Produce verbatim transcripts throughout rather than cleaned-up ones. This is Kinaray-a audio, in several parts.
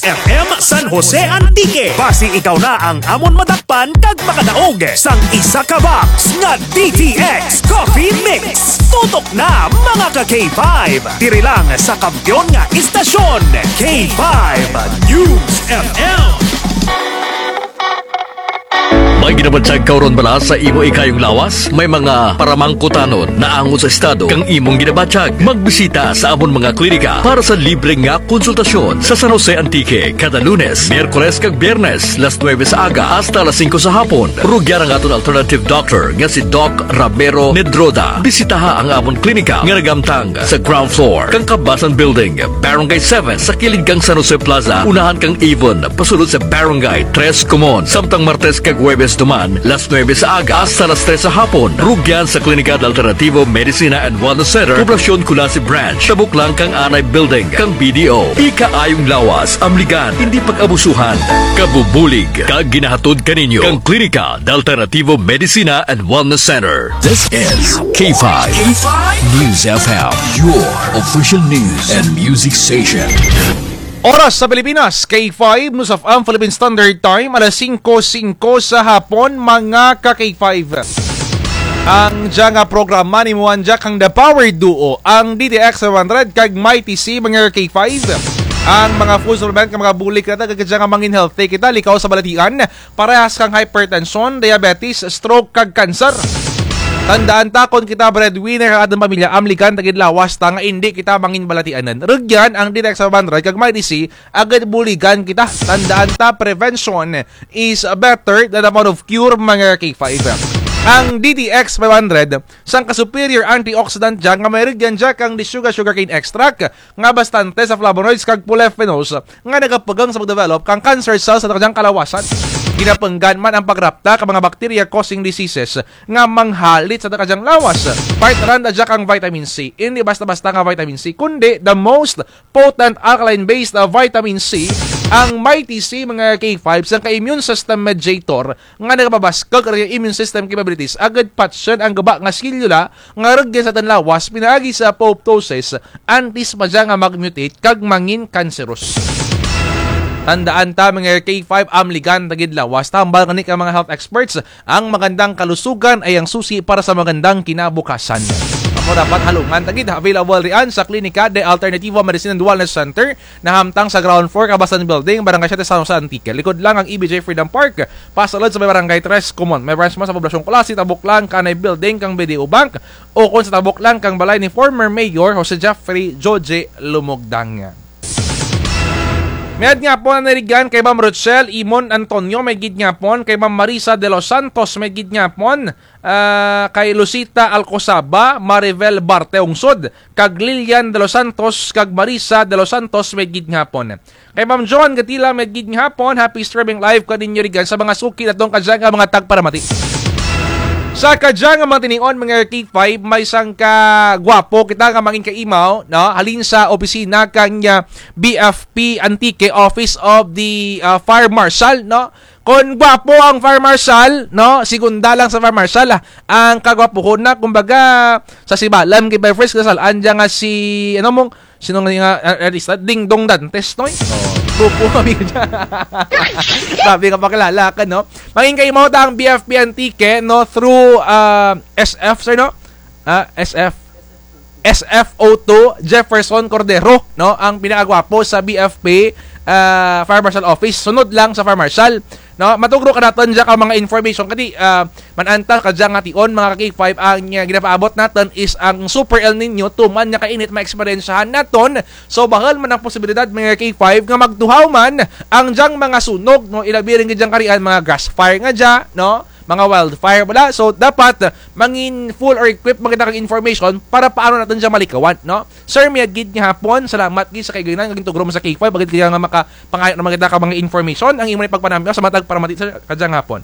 F M San Jose Antique. Basi ikaw na ang amon madakpan kag makadaog sang isa ka box nga D T X Coffee Mix. Tutok na, mga ka K five. Diri lang sa kampiyon nga istasyon, K five News F M. May ginabatyag ka run bala sa imo ikayong lawas? May mga paramangkutanon naangot sa estado kang imong ginabatyag? Magbisita sa amon mga klinika para sa libre nga konsultasyon sa San Jose Antique kada Lunes, Miyerkules kag Biyernes, las nuebe sa aga hasta las singko sa hapon. Rugyan ang aton alternative doctor nga si Doc Ramiro Nedroda. Bisitaha ang amon klinika nga nagamtang sa ground floor kang Kabasan Building, Barangay seven, sa kilid kang San Jose Plaza, unahan kang Avon, pasulod sa Barangay Tres Comuns. Samtang Martes kag Huwebes duman, las nuebe sa aga hasta las tres sa hapon, rugyan sa Klinika de Alternativo Medicina and Wellness Center, Poblacion Culasi Branch, tabok lang kang Anay Building kang B D O. Ikaayong lawas, amligan, indi pag-abusuhan. Kabubulig kag ginahatod kaninyo kang Klinika de Alternativo Medicina and Wellness Center. This is K five News F M, your official news and music station. Oras sa Pilipinas, K five News F M Philippine Standard Time, alas singko singko sa hapon, mga ka K five. Ang dya nga programa nimo ang dya kang The Power Duo, ang D T X five hundred kag Mighty C, mga K five. Ang mga food supplement, kag mga bulig kita, kag dya nga mangin healthy kita, likaw sa balatian, parehas kang hypertension, diabetes, stroke, kag cancer. Tandaan ta, kon kita breadwinner kang atun pamilya, amligan ta gid lawas ta nga indi kita mangin balatianan. Rugyan ang D T X five hundred kag Mighty C, agud buligan kita. Tandaan ta, prevention is better than the amount of cure, mga K five. Ang D T X five hundred, sangka superior antioxidant dya nga may rugyan dya kang desuga sugarcane extract, nga bastante sa flavonoids kag polyphenols nga nagapagang sa pagdevelop kang cancer cells sa aton kadyang kalawasan. Ginapanggan man ang pagrapta kang mga bacteria causing diseases nga manghalit sa aton kadyang lawas. Part run dya kang vitamin C. Indi basta-basta nga vitamin C, kundi the most potent alkaline-based, ah, vitamin C, ang Mighty C, mga K five, sangka immune system mediator nga nagapabaskug sa immune system capabilities, agud patyon ang guba nga selula nga rugyan sa atun lawas pinaagi sa apoptosis, antes pa dya nga mag-mutate kag mangin cancerous. Tandaan ta, mga K five, amligan ta gid lawas ta, hambal gani kang mga health experts, ang magandang kalusugan ay ang susi para sa magandang kinabukasan. Amo dapat halungan ta gid, available rian sa Klinika de Alternativo Medicine and Wellness Center, nahamtang sa ground floor, Kabasan Building, Barangay Siete, San Jose, Antique. Likod lang ang E B J Freedom Park, pasulod sa may Barangay Tres Comuns. May branch man sa Poblacion Culasi, tabok lang kanay building kang B D O Bank, ukon sa tabok lang kang balay ni former Mayor Jose Jeffrey Joje Lumogdang. Mayad nga hapon, nanirigan kay Ma'am Rochelle Imon Antonio, mayad gid nga hapon, kay Ma'am Marisa de los Santos, mayad gid nga hapon, ah, kay Lucita Alcozaba, Maribel Barte Ungsod, kag Lilian de los Santos, kag Marisa de los Santos, mayad gid nga hapon. Kay Ma'am Joan Gatila, mayad gid nga hapon, happy streaming live kaninyo rigan sa mga suki natun kadya nga mga tagparamati. Sa kadya nga mga tinion, mga K five, may sangka gwapo kita nga mangin kaimaw, no? Halin sa opisina kang, ah, B F P Antique, Office of the, ah, Fire Marshal, no? Kon gwapo ang Fire Marshal, no? Segunda lang sa Fire Marshal, ah. Ang kagwapuhon na, kumbaga, sa sibalam, kay by first kasal-an dya nga si, ano mong, sino nga nga, ah, artista? Dingdong Dantes, no? Oo. Grupo kami dya. Grabe nga pakilala ka, no? Mangin kaimaw ta ang B F P Antique, no? Through, ah, S F, sir, no? Ah, S F. S F O two, Jefferson Cordero, no? Ang pinakagwapo sa B F P, ah, Fire Marshal Office. Sunod lang sa Fire Marshal, no? Matugro ka natun dya kang mga information. Kadi, ah, man-an ta kadya nga tion, mga ka K five, ang, ah, ginapaabot natun is ang Super El Niño, tuman nga kainit, maeksperyensyahan natun. So, bahul man ang posibilidad, mga K five, nga magtuhaw man ang dyang mga sunog, no? Ilabi run gid dyang karian, mga grass fire nga dya, no? Mga wildfire bala. So, dapat, ah, mangin full or equipped man kita kang information para paano natun dya malikawan, no? Sir, mayad gid nga hapon, salamat gid sa kaiganan nga gintugro mo sa K five, agud kaya nga makapangayo naman kita kang mga information, ang imo ni pagpanamyaw sa mga tagparamati, sir, kadya nga hapon.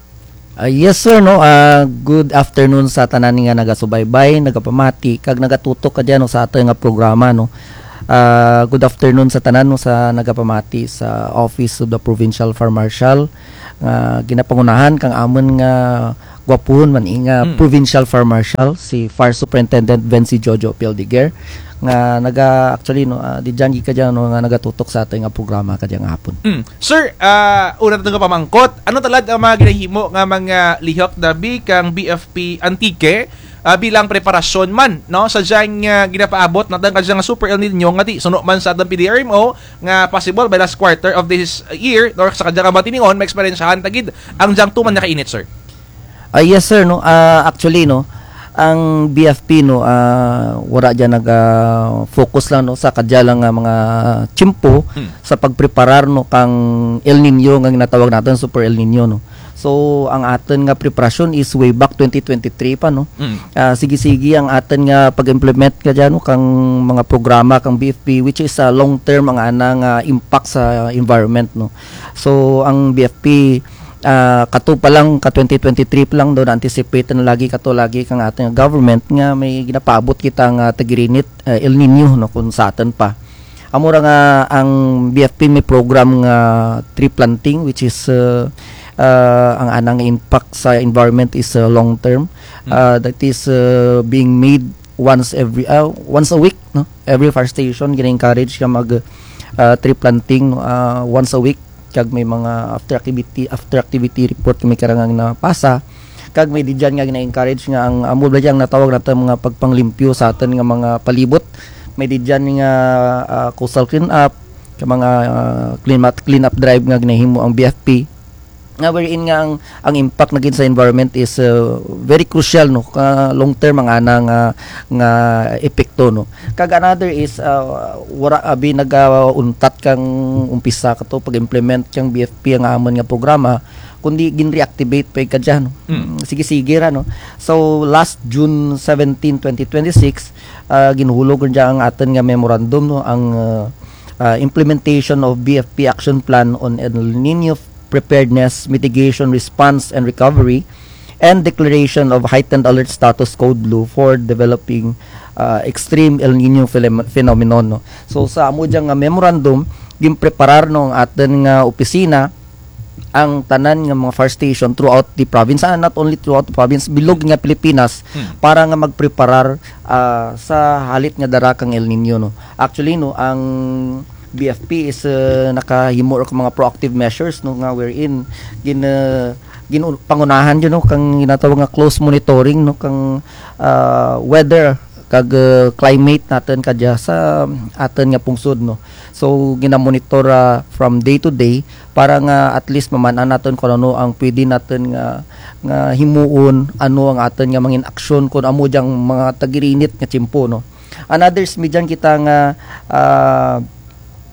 Ah, yes, sir, no? Ah, good afternoon sa tanan nga nagasubaybay, nagapamati, kag nagatutok kadya, no, sa aton nga programa, no? Ah, good afternoon sa tanan, no, sa nagapamati sa Office of the Provincial Fire Marshal, nga ginapangunahan kang amun nga gwapuhon man, eh, nga Hmm. Provincial Fire Marshal, si Fire Superintendent Vency Jojo Pildiger, nga naga-, actually, no, ah, di dyan, kadya, no, nga nagatutok sa atun nga programa kadya nga hapon. Hmm. Sir, ah, una natun nga pamangkot, ano talad ang mga ginahimo nga mga lihok dabi kang B F P Antique, ah, bilang preparasyon man, no, sa dyang, ah, ginapaabot natun kadya nga Super El Niño nga ti suno man sa atun P D R M O nga possible by last quarter of this year, no, sa kadya nga mga tinion, maeksperiensyahan ta gid ang dyang tuman nga kainit, sir? Ah, yes, sir, no. Ah, actually, no, ang B F P, no, ah, wara dyan naga-focus lang, no, sa kadya lang nga mga tiyempo Hmm. sa pagpreparar, no, kang El Niño nga ginatawag natun, Super El Niño, no. So, ang atun nga preparasyon is way back twenty twenty-three pa, no. Hmm. Ah, sige-sige ang atun nga pag-implement kadya, no, kang mga programa kang B F P, which is, ah, long term ang ana nga impact sa environment, no. So, ang B F P, ah, kato pa lang, ka twenty twenty-three pa lang, daw na-anticipate na lagi kato lagi kang atun nga government nga may ginapaabot kita nga tag-irinit, ah, El Niño, no, kon sa atun pa. Amo ra nga ang B F P may program nga tree planting, which is, uh, uh, ang ana nga impact sa environment is, uh, long term. Hmm. Uh, that is, uh, being made once every, uh, once a week, no? Every fire station, gina-encourage nga mag, uh, tree planting, no? Uh, once a week. Kag may mga after activity, after activity report kami karang nga ginapasa. Kag may di dyan nga gina-encourage nga ang amo bala dyang natawag natun mga pagpanglimpyo sa atun nga mga palibot. May di dyan nga, ah, coastal clean up, ka mga, ah, clean up, clean up drive nga ginahimo ang B F P. Nga wherein nga ang, ang impact na gid sa environment is, uh, very crucial, no, ka long term ang ana nga, nga epekto, no. Kag another is, uh, wara abi nagauntat kang umpisa kato pag-implement kang B F P ang amun nga programa, kundi gin-reactivate pa kadya, no. Mm. Sige-sige ra, no. So, last June seventeen, twenty twenty-six, uh, ginhulog kadya ang atun nga memorandum, no, ang, uh, uh, implementation of B F P Action Plan on El Nino Preparedness, Mitigation, Response, and Recovery, and Declaration of Heightened Alert Status Code Blue for Developing, uh, Extreme El Nino Phenom-, Phenomenon, no? So, sa amo dyang nga memorandum, ginpreparar, no, ang atun nga opisina, ang tanan nga mga fire station throughout the province, ah, not only throughout the province, bilog nga Pilipinas, Hmm. para nga magpreparar, ah, sa halit nga dara kang El Nino, no? Actually, no, ang B F P is, uh, nakahimo ra ka mga proactive measures, no, nga wherein gin-, uh, gin-, pangunahan dyan, no, kang ginatawag nga close monitoring, no, kang, uh, weather kag, uh, climate natun kadya sa atun nga pungsod, no. So, gina-monitor, uh, from day to day para nga at least maman-an natun kon ano ang pwede natun nga, nga himuon, ano ang atun nga mangin aksyon kon amo dyang mga tag-irinit nga tiyempo, no. Another is may dyan kita nga, ah,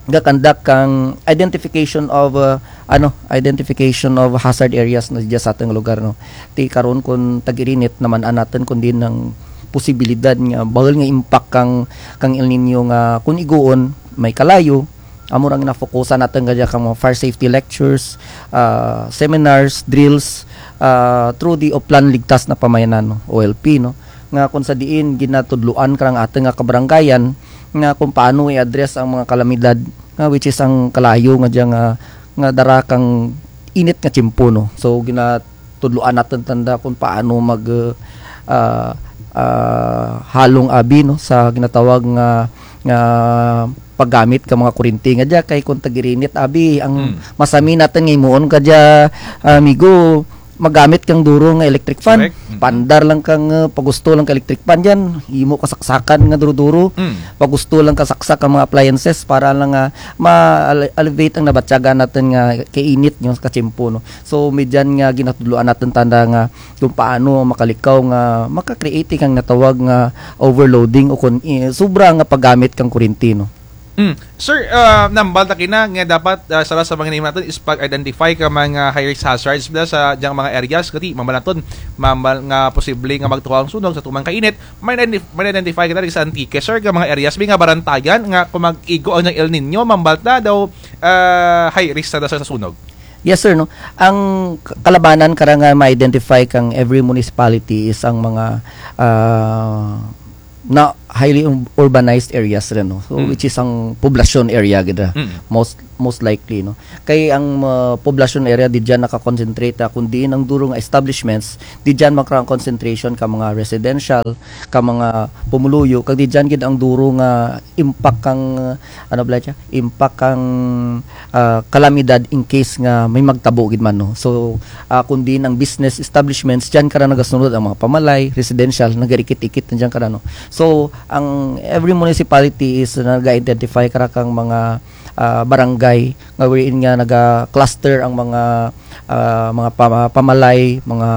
ga-conduct kang identification of, ah, ano, identification of hazard areas na dyan sa atun lugar, no. Ti karon kon tag-irinit naman natun kon diin ang posibilidad nga bahul nga impact kang, kang El Nino nga kon iguon may kalayo, amo ra nga ginafokusan natun kadya kang mga fire safety lectures, ah, seminars, drills, ah, through the Oplan Ligtas na Pamayanan, no, O L P, no, nga kon sa diin ginatudloan karang atun nga kabarangayan nga kon paano i-address ang mga kalamidad nga which is ang kalayo nga dyan nga, nga dara kang init nga tiyempo, no. So, gina-, tudloan natun tanda kon paano mag, ah, ah, halong abi, no, sa ginatawag nga, nga paggamit ka mga kuryente nga dya, kay kon tag-irinit abi, ang Hmm. masami natun nga himuon kadya, ah, amigo, magamit kang duro nga electric fan. Correct. Hmm. Paandar lang kang, ah, pagusto lang ka electric fan dyan, himo ka saksakan nga duro-duro. Hmm. Pagusto lang ka saksak ang mga appliances para lang nga ma-, alleviate ang nabatyagan natun nga kainit nga katiyempo, no. So, may dyan nga ginatudloan natun tanda nga kon paano makalikaw nga maka-create kang natawag nga overloading o kon, eh, sobra nga paggamit kang kuryente, no. Mm. Sir, ah, nahambal ta kaina nga dapat, ah, sara sa mga ginahimo natun is pag-identify ka mga high risk hazards bala sa dyang mga areas, kati mambal natun, mambal nga posible nga magtuhaw ang sunog sa tumang kainit, ma-identif-, ma-identify kita diri sa Antique, sir, ka mga areas, bi nga barantayan nga kon mag-igo ang dyang El Nino, mambal ta daw, ah, high risk sa, sa sunog. Yes, sir, no. Ang k-, kalabanan kara nga ma-identify kang every municipality is ang mga, ah, na, highly ur-, urbanized areas run, no? So, which is ang poblasyon area gid ra. Most, most likely, no? Kay ang, ah, poblasyon area di dyan naka-concentrate, ah, kundi ang duro nga establishments, di dyan makara ang concentration ka mga residential, ka mga pumuluyo, kag di dyan gid ang duro nga impact kang, ah, ano bala dya? Impact kang, ah, kalamidad in case nga may magtabo gid man, no? So, ah, kundi ang business establishments, dyan kara nagasunod ang mga pamalay, residential, nagarikit-ikit na dyan kara, no? So, ang every municipality is naga-identify kara kang mga, ah, barangay nga wherein nga naga-cluster ang mga, ah, mga pama-, pamalay, mga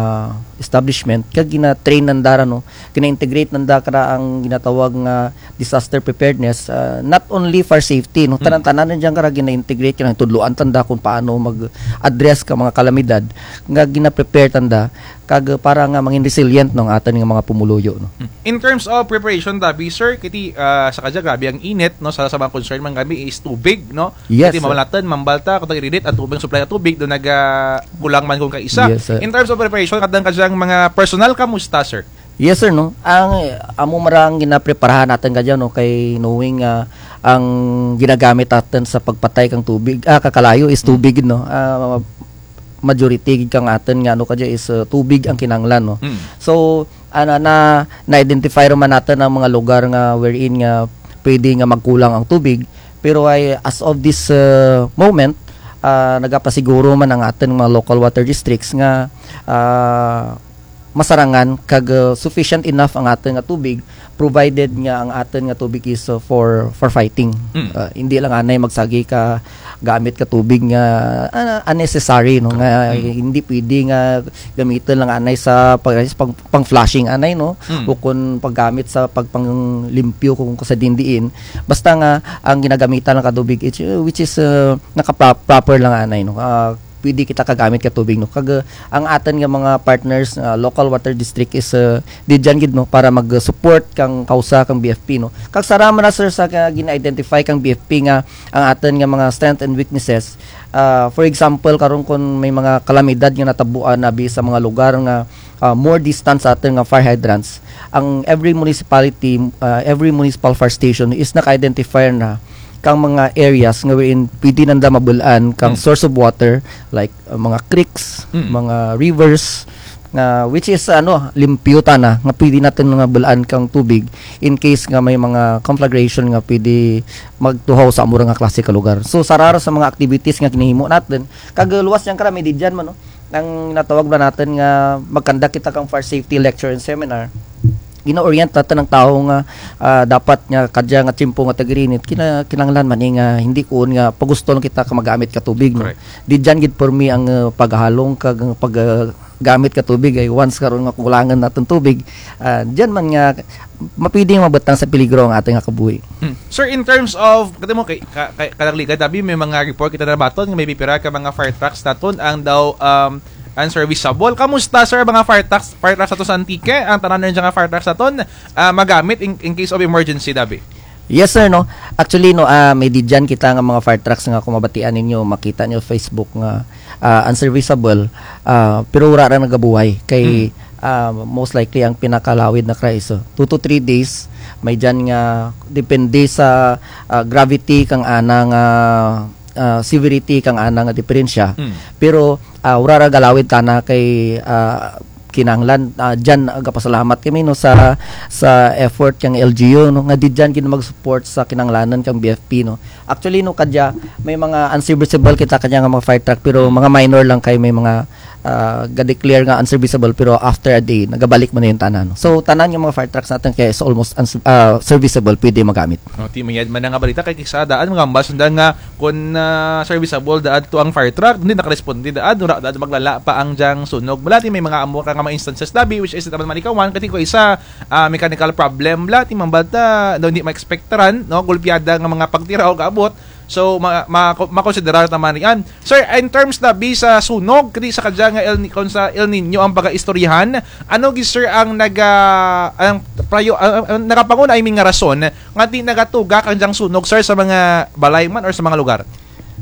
establishment, kag gina-train nanda ra, no? Gina-integrate nanda kara ang ginatawag nga disaster preparedness, ah, not only for safety, no? Tanan-tanan na dyan kara gina-integrate, kinahanglan tudloan tanda kung paano mag-address ka mga kalamidad, nga gina-prepare tanda, kag para nga mangin resilient, no, ang atun nga mga pumuluyo, no? In terms of preparation, tabi, sir, kiti, ah, sa kadya, grabe ang init, no? Sa, sa mga concern man kami is tubig, no? Yes, sir. Kiti mamalatan, mambalta, kung tag-irinit, ang tubig, supply ng tubig, do naga-, kulang man kung kaisa. Yes, sir. In terms of preparation, kadang kadyang mga personal, kamusta, sir? Yes, sir, no? Ang, eh, amo marang ginapreparahan natun kadya, no, kay knowing, ah, ang ginagamit natun sa pagpatay kang tubig, ah, kakalayo is tubig, no? Ah, majority gid kang atun nga, ano kadya is, ah, tubig ang kinahanglan, no? So, ana, na, na-identify ra man natun ang mga lugar nga wherein nga pwede nga magkulang ang tubig. Pero ay, as of this, ah, moment, ah, nagapasiguro man ang atun mga local water districts nga, ah, masarangan kag, uh, sufficient enough ang atun nga tubig, provided nga ang atun nga tubig is, uh, for, for fighting. Uh, hindi lang anay magsagi ka gamit ka tubig nga, ah, unnecessary, no, nga hindi pwede nga gamiton lang anay sa pag, pang, pang flushing anay, no, o kun paggamit sa pag, panglimpyo kung sa dindiin. Basta nga ang ginagamitan lang ka tubig, it's, uh, which is, uh, naka-, proper lang anay, no. Ah, pwede kita kagamit ka tubig, no? Kag, uh, ang atun nga mga partners, uh, local water district is, uh, di dyan gid, no, para mag-support kang kawsa kang B F P, no? Kag sara man na, sir, sa ka-, gina-identify kang B F P nga ang atun nga mga strength and weaknesses. Uh, for example, karon kun may mga kalamidad nga natabuan abi sa mga lugar nga, uh, more distance sa atun nga fire hydrants, ang every municipality, uh, every municipal fire station is naka-identify na kang mga areas nga wherein pwede nanda mabul-an kang source of water, like, uh, mga creeks, mga rivers, nga which is, ano, limpyo tana, nga pwede natun nga bul-an kang tubig in case nga may mga conflagration nga pwede magtuhaw sa amo ra nga klase ka lugar. So, sara ra sa mga activities nga ginahimo natun, kag luwas dyan kara, may di dyan man, no? Ang natawag ba natun nga mag-conduct kita kang fire safety lecture and seminar, gina-orient natun ang tawo nga, ah, dapat nga kadya nga tiyempo nga tag-irinit, kina-, kinahanglan man, eh, nga hindi kuon nga pagusto lang kita ka magamit ka tubig, no? Correct. Di dyan gid pormi ang, ah, paghalong kag, ah, pag, ah, gamit ka tubig ay once karon nga kulangan natun tubig, ah, dyan man nga mapwede nga mabutang sa peligro ang atun nga kabuhi. Hmm. Sir, in terms of, kati mo, kay, ka-, kay, kadagligad, abi, may mga report kita nabaton nga may pipira ka mga fire trucks natun ang daw, um, unserviceable. Kamusta, sir, mga fire trucks, fire trucks natun sa Antique? Ang tanan na dyan nga fire trucks natun, ah, magamit in, in case of emergency, dabi? Yes, sir, no. Actually, no, ah, may di dyan kita nga mga fire trucks nga kung mabatian ninyo, makita ninyo Facebook nga, ah, unserviceable, ah, pero wara ra nagabuhay. Kay, ah, most likely ang pinakalawid na kara is, uh, two to three days, may dyan nga depende sa, ah, gravity kang ana nga, ah, severity kang ana nga diperensya. Pero, ah, wara ra galawid tana kay, ah, kinahanglan, ah, dyan, ah, gapasalamat kami, no, sa, sa effort kang L G U, no, nga di dyan gid mag-support sa kinahanglanan kang B F P, no. Actually, no, kadya, may mga unserviceable kita kadya nga mga fire truck, pero mga minor lang kay may mga, ah, ga-declare nga unserviceable, pero after a day, nagabalik man na yung tanan, no. So, tanan nga mga fire trucks natun kay is almost uns-, ah, serviceable, pwede magamit. Oh, ti, mayad man nga balita kay kis-a daan, mga ambas, nga kun, ah, serviceable daan to ang fire truck, hindi nakaresponde daan, wara daan maglala pa ang dyang sunog. Bala ti may mga amo ka nga mga instances dabi, which is naman malikawan, kati ko isa, ah, mechanical problem, bala ti mambalta, daw hindi ma-expectaran, no, gulpyada nga mga pagtiraw gaabot. So, ma-, ma-, makonsiderar ta man rian. Sir, in terms dabi sa sunog, kati sa kadya nga El Ni-, kun sa El Niño ang pagaistoryahan, ano gid, sir, ang naga-, ang prayo-, ang, ang nagapanguna, I mean, nga rason nga ti nagatugak ang dyang sunog, sir, sa mga balay man or sa mga lugar?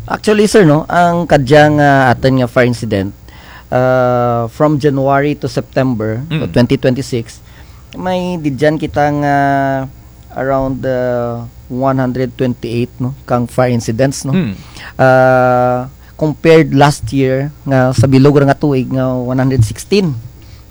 Actually, sir, no, ang kadya nga atun nga fire incident, ah, from January to September of twenty twenty-six, may di dyan kita nga, around, uh, one hundred twenty-eight, no, kang fire incidents, no. Hmm. Ah, compared last year nga sa bilog ra nga tuig nga one hundred sixteen.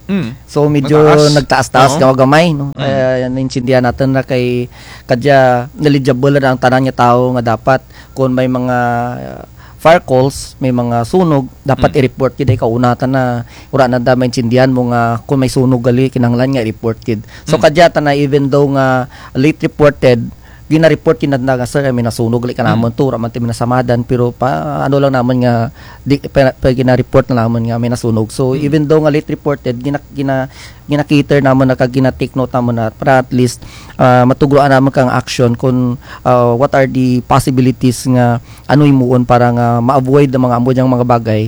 Hmm. So, medyo nagtaas-taas nga gamay, no? Hmm. Eh, naintindihan natun ra kay kadya knowledgeable ra ang tanan nga tawo nga dapat kun may mga, uh, fire calls, may mga sunog, dapat i-report gid, ay kauna ta na, wara nanda maintindihan mo nga kun may sunog gali, kinahanglan nga i-report gid. So, kadya tana, even though nga late reported, gina-report gid nanda nga, "Sir, may nasunog gali kanamun to, wara man ti may nasamadan," pero pa, ano lang namun nga, di, pa, pa gina-report na namun nga may nasunog. So, even though nga late reported, gina, gina, gina-cater namun na kag gina-take note namun na para at least, ah, matugruan namun kang action kun, ah, what are the possibilities nga ano himuon para nga ma-avoid ang mga amo dyang mga bagay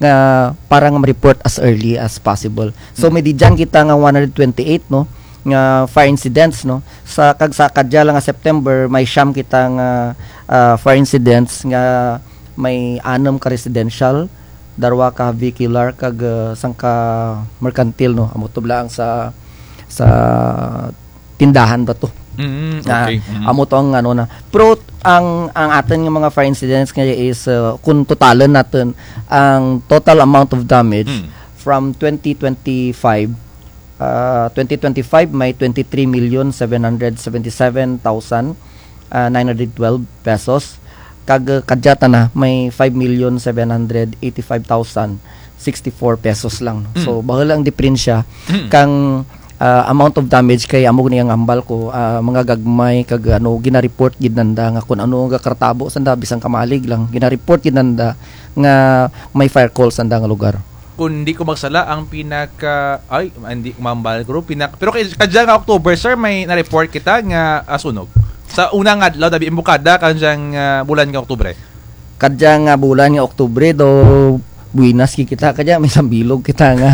nga para nga ma-report as early as possible. So, may didyan kita nga one hundred twenty-eight, no, nga fire incidents, no. Sa kag sa kadya lang nga September, may siyam kita nga, ah, fire incidents nga may anum ka residential, darwa ka vehicular, kag, ah, sangka merkantil, no. Amo to bala ang sa, sa tindahan ba to? Mm, ah, okay. Mm. Amo to ang ano na. Pero ang, ang atun nga mga fire incidents nga is, ah, kun totalun natun ang total amount of damage from twenty twenty-five, ah, twenty twenty-five may twenty-three million seven hundred seventy-seven thousand, ah, nine hundred twelve pesos. Kag, ah, kadya tana may five million seven hundred eighty-five thousand sixty-four pesos lang, no? So, bahul ang diperensya kang, ah, amount of damage kay amo gani ang hambal ko, ah, mga gagmay kag ano, gina-report gid nanda nga kun ano ang gakaratabo sanda, bisan kamalig lang, gina-report gid nanda nga may fire call sanda nga lugar. Kun di ko magsala, ang pinaka, ay, hindi ko mahambal, guro, pinaka, pero kay, kadya nga October, sir, may na-report kita nga, ah, sunog. Sa una nga adlaw, dabi imbukada, kadyang, ah, bulan nga Oktubre. Kadya nga bulan nga Oktubre, do buenas gid kita, kadya may sambilog kita nga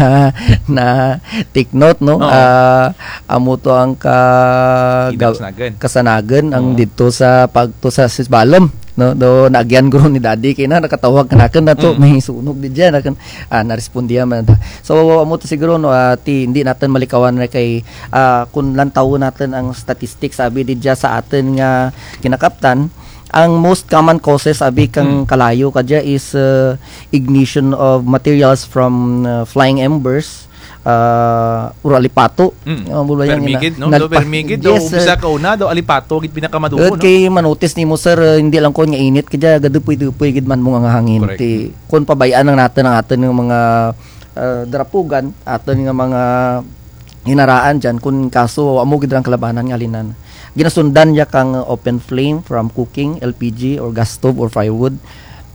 na-take note, no? Oo. Ah, amo to ang ka-, kasanagan. Kasanagan, ang didto sa pagto sa Sisbalom, no? Do naagyan guro ni Daddy kay na nakatawag kanakun na to, may sunog didya, nakun, ah, narespondihan man ta. So, amo to siguro, no, ah, ti, hindi natun malikawan na kay, ah, kun lantawun natun ang statistics, abi didya sa atun nga ginakaptan, ang most common causes, abi kang kalayo kadya is, ah, ignition of materials from, ah, flying embers, ah, or alipato. Mm. Ah, permi gid, no? Do permi gid, do umpisa kauna, do alipato gid pinakamadugo, no? Kay ma-notice nimo, sir, ah, hindi lang kun nga init kadya, gadupoy-dupoy gid man mo nga hangin. Correct. Ti, kun pabay-an lang natun ang atun nga mga, ah, darapugan, atun nga mga ginaraan dyan, kun kaso, amo gid ra ang kalabanan nga halinan. Ginasundan dya kang open flame from cooking, L P G, or gas stove, or firewood.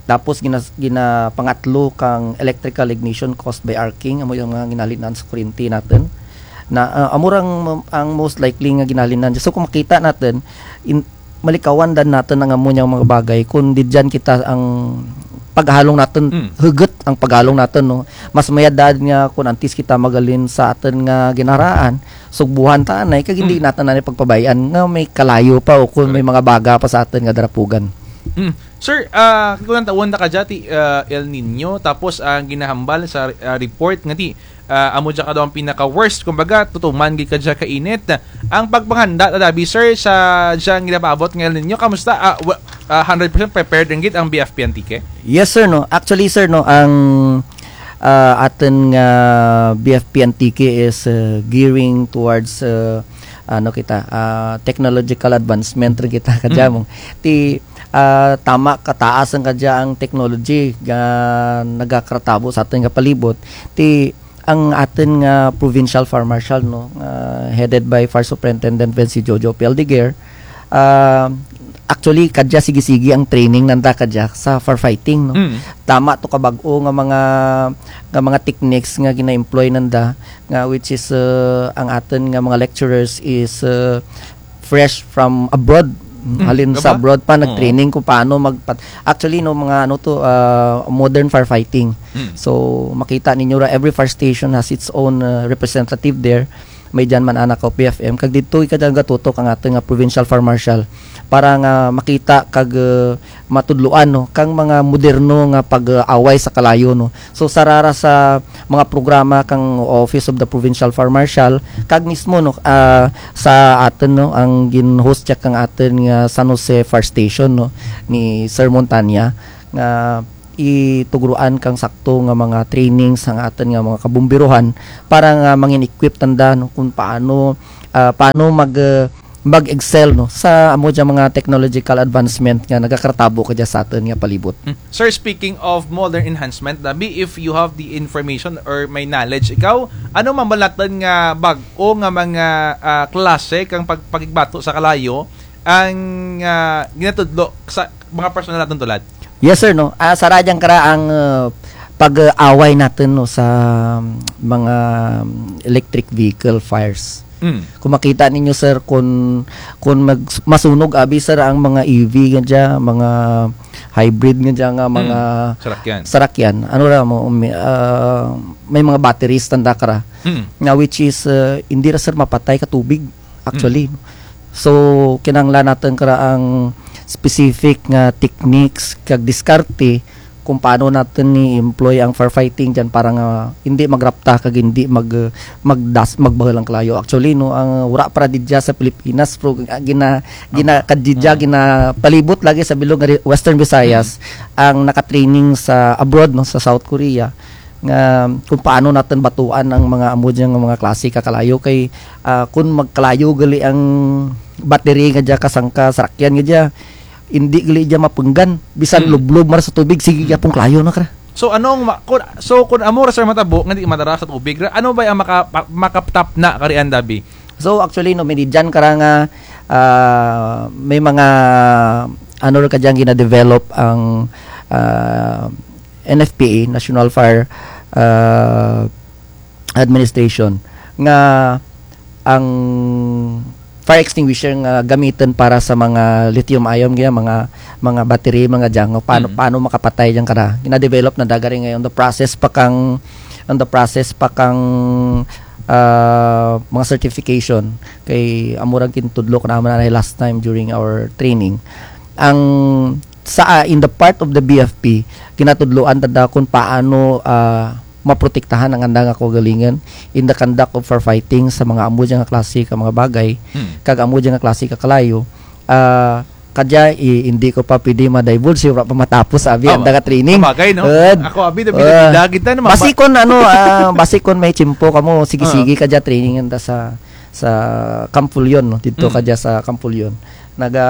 Tapos gina-, ginapangatlo kang electrical ignition caused by arcing, amo dyang mga ginahalinan sa kuryente natun. Na, ah, amo ra ang, ang most likely nga ginahalinan. So, kun makita natun, in-, malikawan dan natun ang amo dyang mga bagay, kun didyan kita ang paghalong natun, hugut ang paghalong natun, no? Mas mayad dan nga kun antes kita maghalin sa atun nga ginaraan, sugbuhan ta anay, kag hindi natun anay pagpabay-an nga may kalayo pa o kun may mga baga pa sa atun nga darapugan. Mm. Sir, ah, kun lantawun ta kadya ti, ah, El Niño, tapos ang ginahambal sa, ah, report nga ti, ah, amo dya kadaw ang pinaka-worst, kumbaga, tutuman gid kadya ka init. Ang pagpanghanda ta dabi, sir, sa dyang ginapaabot nga El Niño, kamusta? Ah, wa-, ah, hundred percent prepared run gid ang B F P Antique? Yes, sir, no. Actually, sir, no, ang, ah, atun nga B F P Antique is, ah, gearing towards, ah, ano kita, ah, technological advancement run kita kadya mo. Ti, ah, tama kataas ang kadya ang technology nga nagakaratabo sa atun nga palibot. Ti, ang atun nga provincial fire marshal, no, nga headed by Fire Superintendent Vency Jojo Pialdeguer, ah, actually, kadya sige-sige ang training nanda kadya sa firefighting, no. Mm. Tama to kabag-o nga mga, nga mga techniques nga gina-employ nanda, nga which is, ah, ang atun nga mga lecturers is, ah, fresh from abroad. Mm, halin sa abroad pa, nag-training kung paano magpat-, actually, no, mga ano to, ah, modern firefighting. Mm. So, makita ninyo ra, every fire station has its own, ah, representative there. may dyan man ana ka O P F M, kag didto gid kadya nagatutok ang atun nga provincial fire marshal para nga makita kag, eh, matudloan, no, kang mga moderno nga pag-away sa kalayo, no. So, sara ra sa mga programa kang Office of the Provincial Fire Marshal, kag mismo, no, ah, sa atun, no, ang gin-host dya kang atun nga San Jose Fire Station, no, ni Sir Montanya, nga itugroan kang sakto nga mga trainings ang atun nga mga kabomberohan para nga mangin-equip tanda, no, kung paano, ah, paano mag, ah, mag-excel, no, sa amo dya mga technological advancement nga nagakaratabo kadya sa atun nga palibot. Hmm. Sir, speaking of modern enhancement, dabi, if you have the information or may knowledge ikaw, ano man ba natun nga bag-o nga mga, ah, klase kang pag-, pakigbato sa kalayo ang, ah, ginatudlo sa mga personal natun tulad? Yes, sir, no. Ah, sara dyan kara ang, ah, pag-away natun, no, sa, um, mga, um, electric vehicle fires. Mm. Kung makita ninyo, sir, kung, kung mag-, masunog, abi, sir, ang mga E V nga dya, mga hybrid nga dya nga mga Mm. Sarakyan. Sarakyan. Ano ra mo, umi-, ah, may mga batteries tanda kara. Mm. Nga which is, ah, hindi ra, sir, mapatay ka tubig, actually. Mm. So, kinahanglan natun kara ang specific nga techniques kag diskarte kung paano natun i-employ ang firefighting dyan para nga hindi magrapta kag hindi mag-, magdas-, magbahul ang kalayo. Actually, no, ang wara pa ra didya sa Pilipinas, pero gina-, gina-, Ah, kadidya, ah. Ginapalibot lagi sa bilog nga ri-, Western Visayas, Mm. ang nakatraining sa abroad, no, sa South Korea, nga kung paano natun batuan ang mga amo dyan nga mga klase ka kalayo kay, ah, kung magkalayo gali ang battery nga dya kasangka sarakyan nga dya, hindi gali dya mapunggan, bisan Mm. lublob man ra sa tubig, sige Mm. gyapon kalayo na kara. So, anong ma-, kun, so, kun amo ra, sir, matabo nga di madara sa tubig ra, ano ba ang maka-, pa-, makatapna karian, dabi? So, actually, no, may didyan kara nga, ah, may mga, ano ra kadyang gina-develop ang, ah, N F P A, National Fire, ah, Administration, nga ang fire extinguisher nga gamitun para sa mga lithium ion, kaya mga, mga battery, mga dyan, nga paano, Mm. paano makapatay dyan kara. Gina-develop na dagari ngayon, the process pa kang, on the process pa kang, ah, mga certification. Kay amo ra gintudlo ko naman na last time during our training. Ang sa, ah, in the part of the B F P, ginatudloan tanda kung paano, ah, maprotektahan ang anda nga kaugalingon in the conduct of firefighting sa mga amo dyan nga klase ka mga bagay, Hmm. kag amo dyan nga klase ka kalayo. Ah, kadya, i-, hindi ko pa pwede ma-divulge, wara pa matapos, abi, Tama. Anda nga training. Sabagay, no? Ed. Ako, abi, da, Ed. Bida-bida kita, no? Basi kon, ano, ah, basi kon may tiyempo kamo, sige-sige, Ah. kadya training anda sa, sa Camp Fullon, no? Didto Mm. kadya sa Camp Fullon. Naga,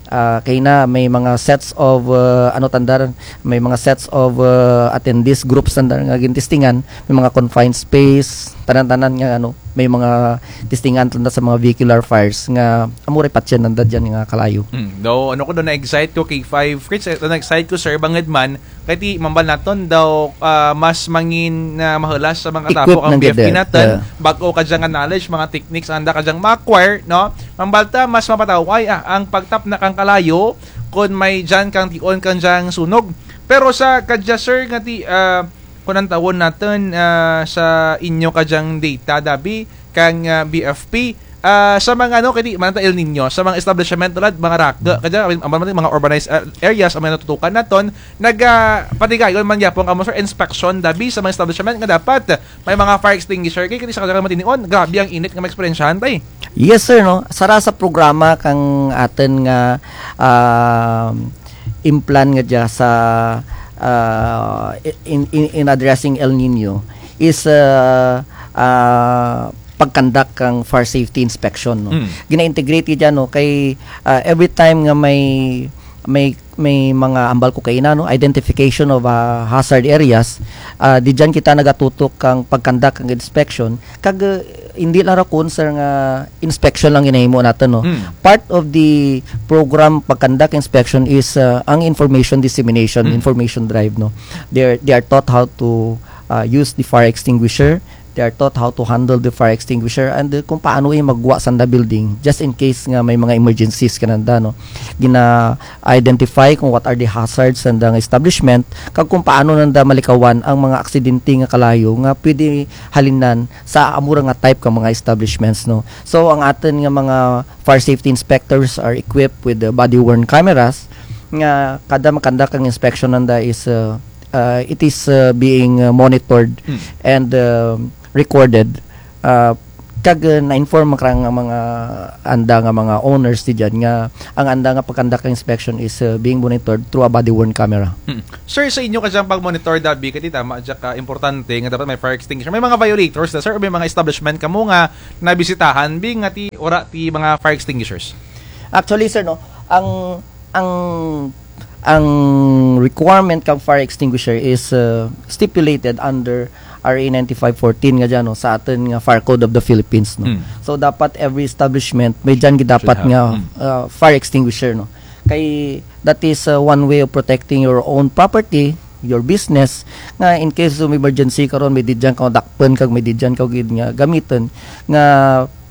ah, kaina may mga sets of, ah, ano tanda ran, may mga sets of, ah, attendees groups tanda ran nga gintestingan, may mga confined space, tanan-tanan nga, ano, may mga testingan tanda sa mga vehicular fires nga amo ra i-patch-an nanda dyan nga kalayo. Mm. Daw, ano ko daw, na-excite ko, K five Fritz, eh, na-excite ko, sir, bangud man, kay ti, mambal natun daw, ah, mas mangin, ah, mahulas sa mga Equip katapok ang nanda B F P dyan. Natun, Yeah. bag-o kadya nga knowledge, mga techniques, anda kadyang ma-acquire, no? Mambal ta, mas mapatawhay, ah, ang pagtapna kang kalayo, kon may dyan kang tion kang dyang sunog. Pero sa kadya, sir, nga ti, ah, kon antawon natun, ah, sa inyo kadyang data, dabi, kang, ah, B F P, ah, sa mga, ano, kay ti, man ta El Niño, sa mga establishment tulad, mga raku, kadya, amin, amin, mga urbanized, ah, areas, ang mga natutukan natun, nag, ah, patigayon man gyapon kamo, sir, inspection, dabi, sa mga establishment nga dapat, may mga fire extinguisher, kay, kay ti sa kadya matinion, grabe ang init nga maeksperiensyahan, tay. Yes, sir, no? Sara sa programa kang atun nga, ah, implan nga dya sa, ah, in, in, in addressing El Niño is, ah, ah, pag-conduct kang fire safety inspection, no? Mm. Gina-integrate dyan, no? Kay, ah, every time nga may, may, may mga ambal ko kaina, no? Identification of, ah, hazard areas, ah, di dyan kita nagatutok kang pag-conduct kang inspection. Kag, ah, hindi lang ra kon, sir, nga inspection lang ginahimo natun, no? Mm. Part of the program pag-conduct inspection is, uh, ang information dissemination, Mm. information drive, no? They're, they are taught how to, uh, use the fire extinguisher, they are taught how to handle the fire extinguisher and, uh, kung paano i magwa sanda building just in case nga may mga emergencies kananda, no. Gina-identify kung what are the hazards sanda nga establishment, kag kung paano nanda malikawan ang mga aksidente nga kalayo nga pwede halinan sa amo ra nga type ka mga establishments, no. So, ang atun nga mga fire safety inspectors are equipped with the body-worn cameras nga kada makanda kang inspection nanda is, uh, uh, it is, uh, being, uh, monitored Hmm. and, uh, recorded. Uh, kag, uh, na-inform man kara nga mga anda nga mga owners ti dyan nga ang anda nga pagkanda kang inspection is, uh, being monitored through a body-worn camera. Hmm. Sir, sa inyo kadyang pag-monitor, dabi kati tama dya ka importante nga dapat may fire extinguisher. May mga violators na, sir, o may mga establishment kamo nga nabisitahan, bi nga ti wara ti mga fire extinguishers? Actually, sir, no, ang, ang, ang requirement kang fire extinguisher is, uh, stipulated under R A ninety-five fourteen nga dyan, no, sa atun nga Fire Code of the Philippines, no. Hmm. So, dapat every establishment may dyan gid dapat Should have. nga, Hmm. uh, fire extinguisher, no. Kay that is, uh, one way of protecting your own property, your business, nga in case of emergency karon may di dyan ka dakpun kag may di dyan ka gid nga gamitun nga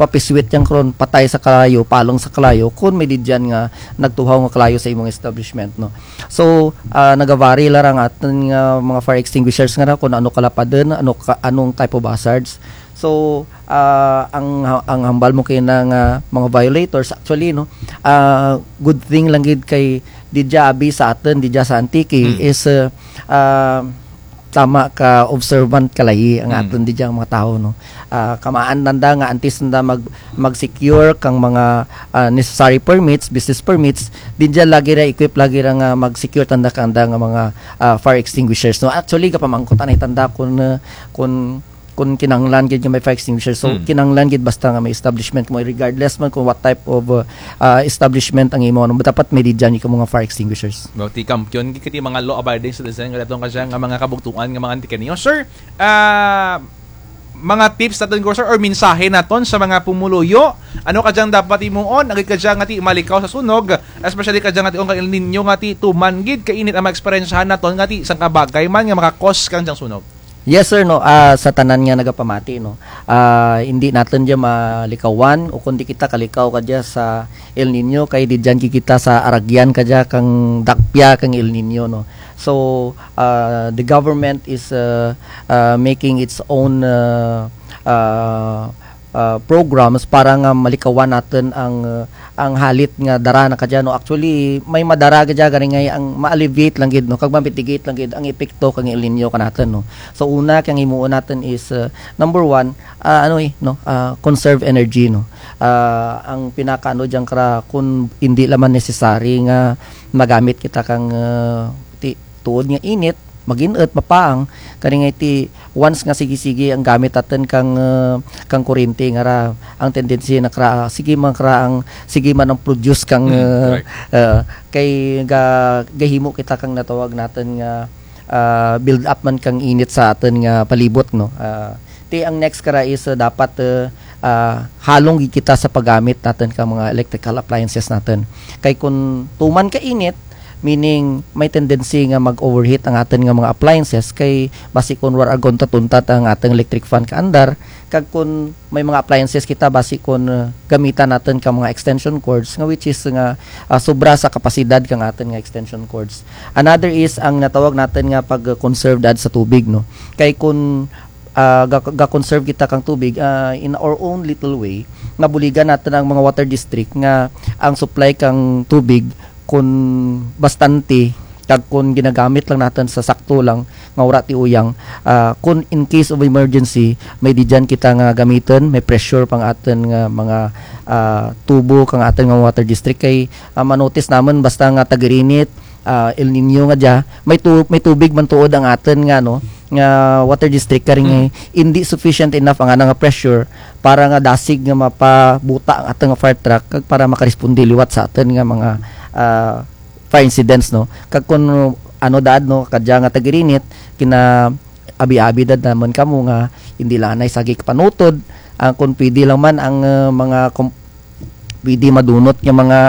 papiswit dyan karon patay sa kalayo, palong sa kalayo, kun may di dyan nga nagtuhaw nga kalayo sa imong establishment, no. So, ah, nagavary lang ang atun nga mga fire extinguishers nga ra kun ano kalapadun, ano ka, anong type of hazards. So, ah, ang, ang hambal mo kina nga mga violators, actually, no, ah, good thing lang gid kay didya abi sa atun, didya sa Antique, Hmm. is, ah, ah, tama ka observant kalayi ang Hmm. atun didya nga mga tawo, no. Ah, kamaan nanda nga antes nanda mag, mag-secure kang mga, ah, necessary permits, business permits, didya lagi ra, equip lagi ra nga mag-secure tanda kanda nga mga, ah, fire extinguishers, no. Actually, gapamangkot anay tanda kun, ah, kun kun kinahanglan gid nga may fire extinguisher. So, Hmm. kinahanglan gid basta nga may establishment mo, regardless man kung what type of, uh, uh, establishment ang imo, ano, dapat may didyan kamo nga fire extinguishers. Well, ti kampiyon gid kati mga law-abiding citizen nga datong kadya nga mga kabugtuan nga mga Antiqueño. Sir, ah, mga tips naton ko, sir, or mensahe naton sa mga pumuluyo, ano kadyang dapat himuon, agud kadya nga ti malikaw sa sunog, especially kadya nga ti ang El Niño nga ti tuman gid kainit ang maeksperiensiyahan naton nga ti sangka bagay man nga maka-cause kang dyang sunog? Yes, sir, no. Ah, sa tanan nga nagapamati, no. Ah, indi natun dya malikawan, o kundi kita kalikaw kadya sa El Niño, kay didyan gid kita sa aragyan kadya kang dakpya kang El Niño, no. So, ah, the government is, ah, ah, making its own, ah, ah, ah, programs para nga malikawan natun ang, ah, ang halit nga dara na kadya, no. Actually, may madara kadya gani nga ang ma-alleviate lang gid, no, kag ma-mitigate lang gid ang epekto kang El Niño kanatun, no. So, una, kang himuon natun is, ah, number one, ah, ano, eh, no, ah, conserve energy, no. Ah, ang pinaka, ano, dyan kara, kun indi lang man necessary nga magamit kita kang, ah, ti-, tuod nga init, magin-ut, mapaang, kani nga ti once nga sige-sige ang gamit natun kang, ah, kang kuryente nga ra, ang tendency na kara, sige man kara ang, sige man ang produce kang, Hmm, ah, right. ah, kay ga-, gahimo kita kang natawag natun nga, ah, build up man kang init sa atun nga palibot, no? Ah, ti ang next kara is, ah, dapat, ah, ah, halong gid kita sa paggamit natun kang mga electrical appliances natun. Kay kun tuman ka init, meaning may tendency nga mag-overheat ang atun nga mga appliances, kay basi kun wara agon ta tuntat ang atun electric fan kaandar, kag kun may mga appliances kita, basi kun, uh, gamitan natun kang mga extension cords, nga which is nga, uh, sobra sa kapasidad kang atun nga extension cords. Another is ang natawag natun nga pag-conserve daad sa tubig, no? Kay kun, uh, ga-, ga-conserve kita kang tubig, uh, in our own little way, nga buligan natun ang mga water district nga ang supply kang tubig kun bastante, kag kun ginagamit lang natun sa sakto lang, nga wara ti uyang, ah, kun in case of emergency, may didyan kita nga gamitun, may pressure pang atun nga mga, ah, tubo kang atun nga water district kay, ah, ma-notice namun basta nga tag-irinit, ah, El Niño nga dya, may tu-, may tubig man tuod ang atun nga, no, nga water district kari nga Hmm. indi sufficient enough ang ana nga pressure para nga dasig nga mapabuta ang atun nga fire truck kag para makaresponde liwat sa atun nga mga, ah, fire incidents, no? Kag kun ano daad, no, kadya nga tag-irinit, kina-abi-abi daad namun kamo nga indi lang anay sagi kapanutod, ang kun pwede lang man ang, ah, mga kom-, pwede madunot nga mga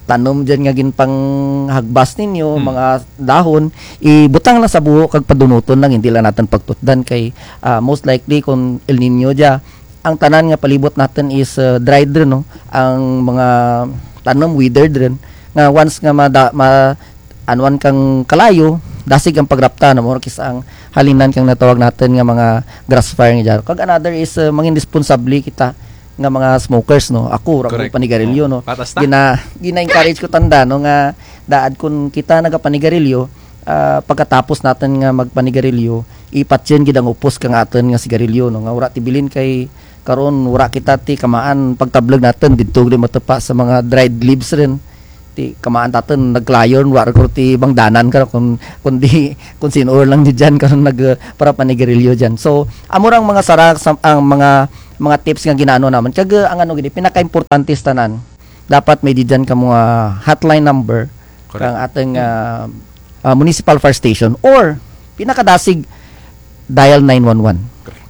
tanom dyan nga ginpanghagbas ninyo, Hmm. mga dahon, ibutang lang sa buho kag padunoton lang, hindi lang natun pagtutdan kay, ah, most likely kon El Niño dya, ang tanan nga palibot natun is, ah, dried run, no? Ang mga tanom withered run, nga once nga mada-, ma-, anwan kang kalayo, dasig ang pagrapta, no? Mura kis-a ang halinan kang natawag natun nga mga grass fire nga dyan. Kag another is, ah, mangin responsable kita nga mga smokers, no? Ako, wara ko Correct. panigarilyo, Oh, no? Patas ta. Gina-, gina-encourage ko tanda, no, nga daad kon kita nagapanigarilyo, ah, pagkatapos natun nga magpanigarilyo, ipatsyon gid ang upos kang atun nga sigarilyo, no? Nga wara ti bilin kay karon wara kita ti kamaan pagtableg natun didto gid matupa sa mga dried leaves run. Ti kamaan tatun nagkalayo run, wara ko ti bangdanan karon kon, kundi kon sin-o lang dyan karon nag, ah, para panigarilyo dyan. So, amo rang mga sara sa, ang mga, mga tips nga ginaano namun. Kag, ah, ang ano gid, pinakaimportante sa tanan, dapat may didyan kamo nga hotline number Correct. kang atun, ah, ah, municipal fire station or pinakadasig dial nine one one. Correct.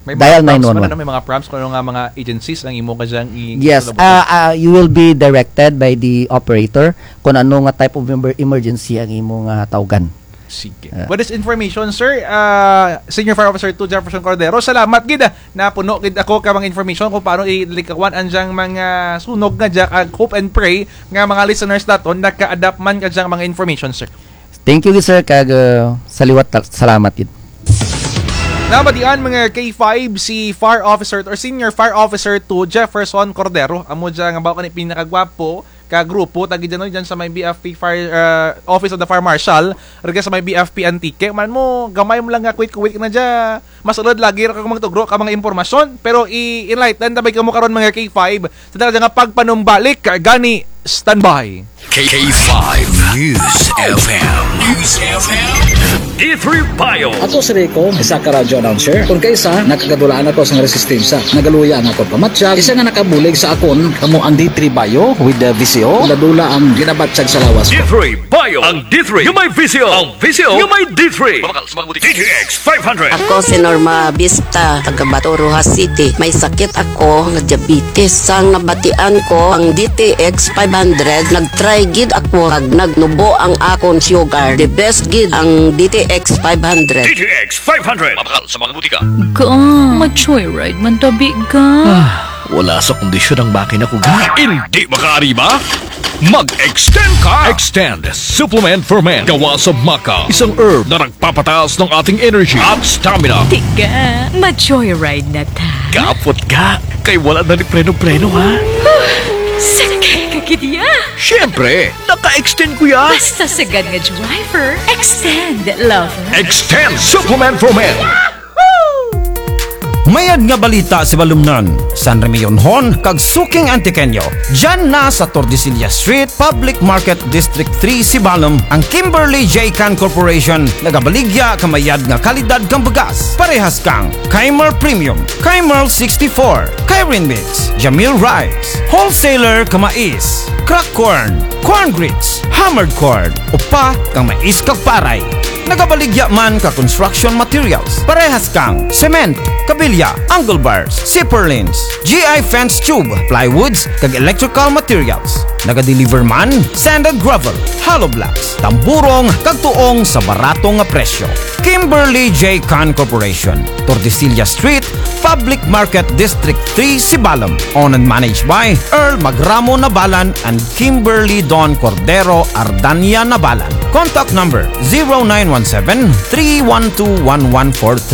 May mga Dial prompts man, nine one one. ano, may mga prompts kon ano nga mga agencies ang imo kadyang i-, Yes, isulod? ah, ah, you will be directed by the operator kon ano nga type of emer-, emergency ang imo nga tawgan. Sige. Ah. With this information, sir, ah, Senior Fire Officer two Jefferson Cordero, salamat gid, ah, napuno gid ako ka mga information kon paano ilikawan ang dyang mga sunog nga dya, kag hope and pray nga mga listeners natun naka-adapt man ka dyang mga information, sir. Thank you gid, sir, kag, ah, sa liwat ta-, salamat gid. Nabatian mga K five si Fire Officer or Senior Fire Officer two Jefferson Cordero, amo dya nga bawo kani pinakagwapo ka grupo, tagi dyan, no, dyan sa may B F P Fire, ah, Office of the Fire Marshal, rugya sa may B F P Antique. Man mo, gamay mo lang nga kuwit-kuwit na dya. Mas ulod lagi ra ka magtugro ka mga impormasyon, pero i-enlighten ta bay kamo karon mga K five. Sa dala nga pagpanumbalik, gani standby. K five News F M. News F M. D three Bio. Ako si Rico, isa ka radyo announcer. Kon kaisa, nakagadulaan ako sa nga resistensya. Nagaluya ang akon pamatyag, isa nga nakabulig sa akon, kamo ang D three Bio with the V C O. Dula-dula ang ginabatyag sa lawas ko. D three Bio, ang D three nga may V C O, ang V C O nga may D three. Mamakal sa mga butika. D T X five hundred. Ako si Norma Vista, taga Bato, Roxas City. May sakit ako nga diabetes. Sang nabatian ko ang D T X five hundred, nag-try gid ako kag nagnubo ang akon sugar. The best gid ang D T X five hundred. D T X five hundred. Mamakal sa mga butika. Ga, ma-joyride man tabi, ga. Ah, wala sa kondisyon ang makina ko, ga. Hindi makaari ba? Mag-extend ka! Extend Supplement for Men. Gawa sa maca, isang herb na nagpapataas ng ating energy at stamina. Tiga, ma-joyride na ta. Kapot ka, kay wala na ni preno-preno, ha? Sakay ka gid ya. Siyempre, naka-extend ko ya. Basta sagad nga driver, extend, lover. Extend Supplement for Men. Mayad nga balita, Sibalomnon, San Remillonhon, kag suking Antiqueño. Dyan na sa Tordesillas Street, Public Market, District three, Sibalom, ang Kimberly J Can Corporation, nagabaligya ka mayad nga kalidad kang bugas. Parehas kang Keimer Premium, Keimer sixty-four, Keirin Mix, Jamil Rice, wholesaler ka mais, crack corn, corn grits, hammered corn, upa kang mais kag paray. Nagabaligya man ka construction materials, parehas kang cement, kabilya, angle bars, zipper lines, G I fence tube, plywoods, kag electrical materials. Nagadeliver man sand and gravel, hollow blocks, tamburong, kag tuong sa barato nga presyo. Kimberly J Can Corporation, Tordesillas Street, Public Market, District three, Sibalom. Owned and managed by Earl Magramo Nabalan and Kimberly Don Cordero Ardania Nabalan. Contact number zero nine one seven, three one two, one one four three.